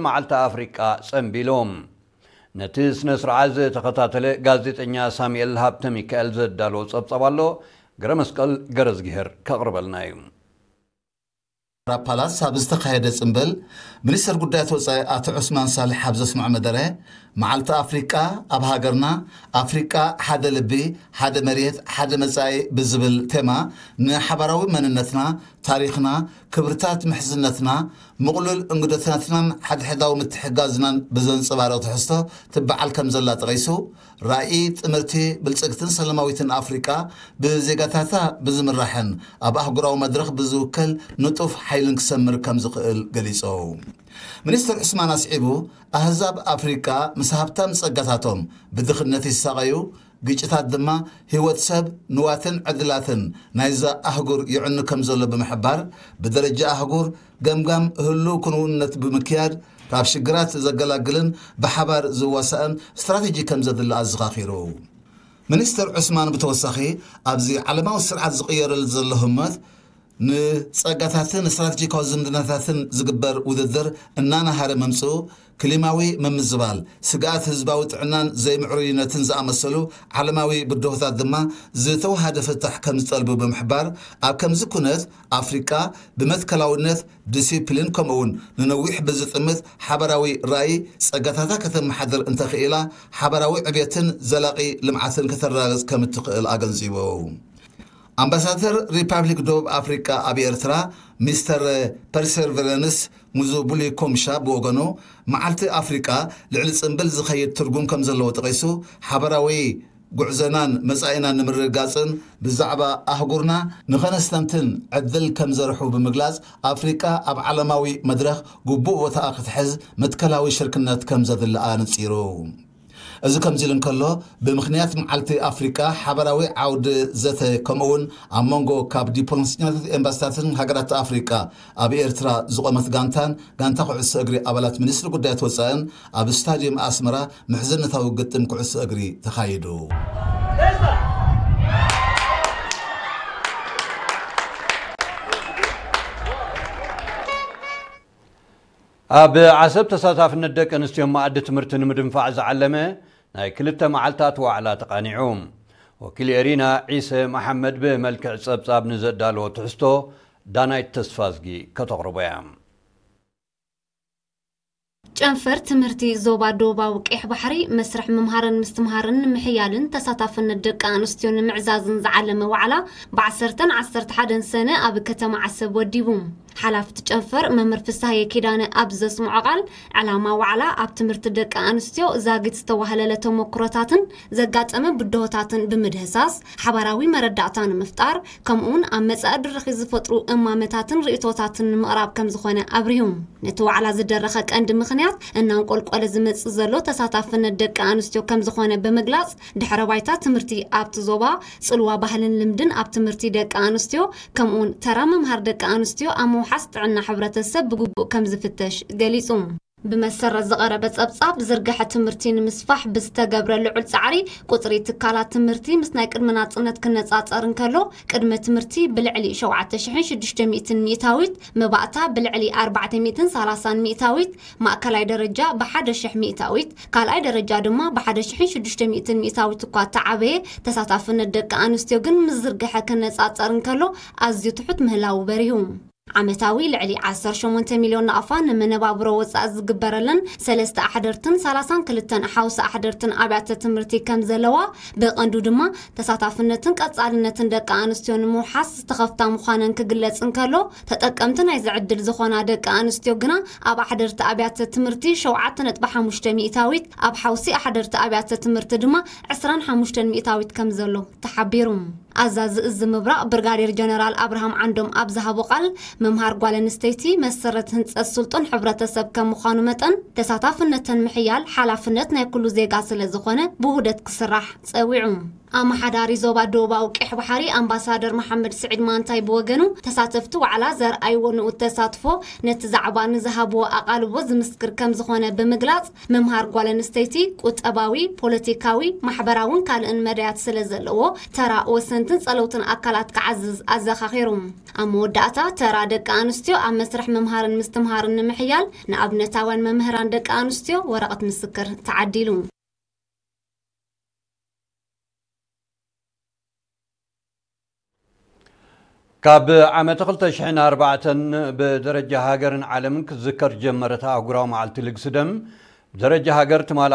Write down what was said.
መዓልቲ ኣፍሪቃ ጸንቢሉ። ነቲ ስነ ስርዓት ዝተኸታተለ ጋዜጠኛ ሳሙኤል ሃብተ ሚካኤል ዘዳለዎ ጸብጻብ ኣሎ፣ ገረ መስቀል ገረዝግሄር ከቕርበልና እዩ። ፓላስ ኣብ ዝተኻየደ ጽምብል፣ ሚኒስተር ጉዳያት ወጻኢ ኣቶ ዑስማን ሳልሕ ኣብ ዘስምዖ መደረ፣ መዓልቲ ኣፍሪቃ ኣብ ሃገርና፣ ኣፍሪቃ ሓደ ልቢ፣ ሓደ መሬት፣ ሓደ መጻኢ ብዝብል ቴማ፣ ንሓባራዊ መንነትና፣ ታሪኽና፣ ክብርታት ምሕዝነትና፣ ምቕሉል እንግዶታትናን ሓድሕዳዊ ምትሕጋዝናን ብዘንጸባርቕ ትሕዝቶ ትበዓል ከም ዘላ ጠቒሱ፣ ራእይ ጥምርቲ፣ ብልጽግትን ሰላማዊትን ኣፍሪቃ ብዜጋታታ ብዝምራሕን ኣብ ኣህጉራዊ መድረኽ ብዝውከል ንጡፍ ሓይልን ክሰምር ከም ዝኽእል ገሊጹ። ሚኒስተር ዑስማን ኣስዒቡ፣ ኣህዛብ ኣፍሪቃ ምስ ሃብታም ጸጋታቶም ብድኽነት ይሳቐዩ፣ ግጭታት ድማ ህይወት ሰብ፣ ንዋትን ዕድላትን ናይዛ ኣህጉር ይዕኑ ከም ዘሎ ብምሕባር፣ ብደረጃ ኣህጉር ገምጋም ህሉው ክንውነት ብምክያድ፣ ካብ ሽግራት ዘገላግልን ብሓባር ዝዋሳእን ስትራተጂ ከም ዘድሊ ኣዘኻኺሩ። ሚኒስተር ዑስማን ብተወሳኺ፣ ኣብዚ ዓለማዊ ስርዓት ዝቕየረሉ ዘሎ ህሞት፣ ንጸጋታትን ስትራተጂካዊ ዝምድናታትን ዝግበር ውድድር እናናሃረ ምምጽኡ፣ ክሊማዊ ምምዝባል፣ ስግኣት ህዝባዊ ጥዕናን ዘይምዕሩይነትን ዝኣመሰሉ ዓለማዊ ብድሆታት ድማ ዝተወሃደ ፍታሕ ከም ዝጠልቡ ብምሕባር፣ ኣብ ከምዚ ኩነት ኣፍሪቃ ብመትከላውነት፣ ዲሲፕሊን ከምኡውን ንነዊሕ ብዝጥምት ሓባራዊ ራእይ ጸጋታታ ከተመሓድር እንተኽኢላ፣ ሓባራዊ ዕብየትን ዘላቒ ልምዓትን ከተረጋግጽ ከም እትኽእል ኣገንዚቡ። ኣምባሳደር ሪፓብሊክ ደቡብ ኣፍሪቃ ኣብ ኤርትራ ሚስተር ፐርሰቨረንስ ሙዙቡሊ ኮምሻ ብወገኑ፣ መዓልቲ ኣፍሪቃ ልዕሊ ጽምብል ዝኸይድ ትርጉም ከም ዘለዎ ጠቒሱ፣ ሓባራዊ ጉዕዞናን መጻኢናን ንምርግጋጽን ብዛዕባ ኣህጉርና ንኸነስተንትን ዕድል ከም ዘርሑ ብምግላጽ፣ ኣፍሪቃ ኣብ ዓለማዊ መድረኽ ግቡእ ቦታኣ ክትሕዝ መትከላዊ ሽርክነት ከም ዘድሊ ኣነጺሩ። እዚ ከምዚ ኢሉ እንከሎ፣ ብምኽንያት መዓልቲ ኣፍሪቃ ሓባራዊ ዓውዲ ዘተ ከምኡውን ኣብ መንጎ ካብ ዲፕሎማሰኛታት ኤምባሲታትን ሃገራት ኣፍሪቃ ኣብ ኤርትራ ዝቖመት ጋንታን ጋንታ ኩዕሶ እግሪ ኣባላት ሚኒስትሪ ጉዳያት ወጻእን ኣብ ስታድየም ኣስመራ ምሕዝነታዊ ግጥም ኩዕሶ እግሪ ተኻይዱ። ኣብ ዓሰብ ተሳታፍነት ደቂ ኣንስትዮ መኣዲ ትምህርቲ ንምድንፋዕ ዝዓለመ ናይ ክልተ መዓልታት ዋዕላ ተቓኒዑ። ወኪል ኤሪና ዒሰ መሓመድ ብመልክዕ ጸብጻብ ንዘዳለዎ ትሕዝቶ ዳናይት ተስፋዝጊ ከተቕርቦ እያ። ጨንፈር ትምህርቲ ዞባ ደቡባዊ ቀይሕ ባሕሪ መስርሕ ምምሃርን ምስትምሃርን ንምሕያልን ተሳታፍነት ደቂ ኣንስትዮ ንምዕዛዝን ዝዓለመ ዋዕላ ብ ዓሰርተን ዓሰርተ ሓደን ሰነ ኣብ ከተማ ዓሰብ ወዲቡ። ሓላፍቲ ጨንፈር መምህር ፍስሃየ ኪዳነ ኣብ ዘስምዖ ቃል፣ ዕላማ ዋዕላ ኣብ ትምህርቲ ደቂ ኣንስትዮ ዛጊት ዝተዋህለለ ተሞክሮታትን ዘጋጠመ ብድሆታትን ብምድህሳስ ሓባራዊ መረዳእታ ንምፍጣር፣ ከምኡውን ኣብ መጻኢ ድርኺት ዝፈጥሩ እማመታትን ርእይቶታትን ንምቕራብ ከም ዝኾነ ኣብርሁ። ነቲ ዋዕላ ዝደረኸ ቀንዲ ምኽንያት እናንቆልቆለ ዝመጽእ ዘሎ ተሳታፍነት ደቂ ኣንስትዮ ከም ዝኾነ ብምግላጽ፣ ድሕረ ባይታ ትምህርቲ ኣብቲ ዞባ፣ ጽልዋ ባህልን ልምድን ኣብ ትምህርቲ ደቂ ኣንስትዮ፣ ከምኡውን ተራ ምምሃር ደቂ ኣንስትዮ ኣብ ምውሓስ ጥዕና ሕብረተሰብ ብግቡእ ከም ዝፍተሽ ገሊጹ። ብመሰረት ዝቐረበ ጸብጻብ፣ ዝርግሐ ትምህርቲ ንምስፋሕ ብዝተገብረ ልዑል ጻዕሪ፣ ቁጽሪ ትካላት ትምህርቲ ምስ ናይ ቅድሚ ናጽነት ክነጻጸር እንከሎ፣ ቅድመ ትምህርቲ ብልዕሊ ሸውዓተ ሽሕን ሽዱሽተ ሚእትን ሚእታዊት፣ መባእታ ብልዕሊ ኣርባዕተ ሚእትን ሰላሳን ሚእታዊት፣ ማእከላይ ደረጃ ብሓደ ሽሕ ሚእታዊት፣ ካልኣይ ደረጃ ድማ ብሓደ ሽሕን ሽዱሽተ ሚእትን ሚእታዊት እኳ እተዓበየ፣ ተሳታፍነት ደቂ ኣንስትዮ ግን ምስ ዝርግሐ ክነጻጸር እንከሎ፣ ኣዝዩ ትሑት ምህላዉ በሪሁ። ዓመታዊ ልዕሊ ዓሰርተ ሸሞንተ ሚልዮን ናቕፋ ንመነባብሮ ወጻኢ ዝግበረለን ሰለስተ ኣሕደርትን ሰላሳን ክልተን ሓውሲ ኣሕደርትን ኣብያተ ትምህርቲ ከም ዘለዋ፣ ብቐንዱ ድማ ተሳታፍነትን ቀጻልነትን ደቂ ኣንስትዮ ንምውሓስ ዝተኸፍታ ምዃነን ክግለጽ እንከሎ፣ ተጠቀምቲ ናይዚ ዕድል ዝኾና ደቂ ኣንስትዮ ግና ኣብ ኣሕደርቲ ኣብያተ ትምህርቲ ሸውዓተ ነጥቢ ሓሙሽተ ሚእታዊት፣ ኣብ ሓውሲ ኣሕደርቲ ኣብያተ ትምህርቲ ድማ ዕስራን ሓሙሽተን ሚእታዊት ከም ዘሎ ተሓቢሩ። ኣዛዚ እዚ ምብራቕ ብርጋዴር ጀነራል ኣብርሃም ዓንዶም ኣብ ዝሃቦ ቃል፣ ምምሃር ጓል ኣንስተይቲ መሰረት ህንጸት ስልጡን ሕብረተሰብ ከም ምዃኑ መጠን፣ ተሳታፍነተን ምሕያል ሓላፍነት ናይ ኩሉ ዜጋ ስለ ዝኾነ ብውህደት ክስራሕ ጸዊዑ። ኣመሓዳሪ ዞባ ደቡባዊ ቀይሕ ባሕሪ ኣምባሳደር መሓመድ ስዒድ ማንታይ ብወገኑ፣ ተሳተፍቲ ዋዕላ ዘርኣይዎ ንኡድ ተሳትፎ ነቲ ዛዕባ ንዝሃብዎ ኣቓልቦ ዝምስክር ከም ዝኾነ ብምግላጽ፣ ምምሃር ጓል ኣንስተይቲ ቁጠባዊ፣ ፖለቲካዊ፣ ማሕበራውን ካልእን መዳያት ስለ ዘለዎ፣ ተራ ወሰንትን ጸለውትን ኣካላት ክዓዝዝ ኣዘኻኺሩ። ኣብ መወዳእታ፣ ተራ ደቂ ኣንስትዮ ኣብ መስርሕ ምምሃርን ምስትምሃርን ንምሕያል ንኣብነታውያን መምህራን ደቂ ኣንስትዮ ወረቐት ምስክር ተዓዲሉ። ካብ ዓመት ክልተ ሽሕን ኣርባዕተን ብደረጃ ሃገርን ዓለምን ክትዝከር ጀመረት ኣህጉራዊ መዓልቲ ልግሲ ደም፣ ብደረጃ ሃገር ትማሊ